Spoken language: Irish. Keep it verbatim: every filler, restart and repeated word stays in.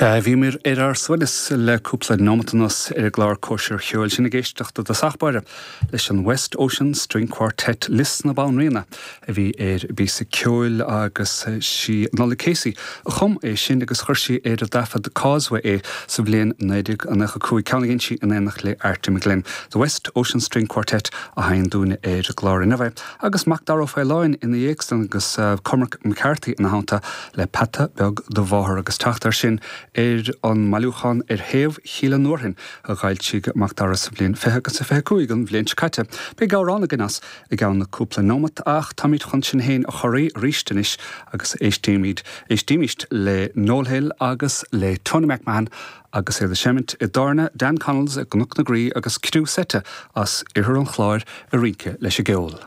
Sea, bhíomar ar ár suaimhneas le cúpla nóimeat anuas ar an gclár Cóisir Cheoil sinn ag éisteacht i dtosach báire leis an West Ocean String Quartet Lios na Banríona a bhí ar an bpíosa ceoil agus sí Nollaig Casey a chum é sin agus chuir sí ar an dtaifead Causeway é sa bhliain naoi déag nócha cúig ceann a dhein sí in éineacht le Artie McGlynn. The West Ocean String Quartet a sheinn dúinne ar an gclár inniu agus Macdara Ó Faoláin ina dhiaidh san agus Cormac McCarthy ina theannta le Peata Beag do Mháthar agus teacht air sin ar an mbailiúchán Ar Thaobh Chill an Fhearthainn a d'fhoilsigh Macdara sa bhliain fiche agus a fiche cúig an bhliain seo caite. Beidh amhrán againn as i gceann cúpla nóimeat ach táimid chun sinn féin a chorraí arís anois agus éistímid éistímist le Noel Hill agus le Tony McMahon agus iad ag seimint i dtábhairne Dan Connell's i gCnoc na Graí agus criú seite as Oirthear an Chláir ag rince leis an gceol.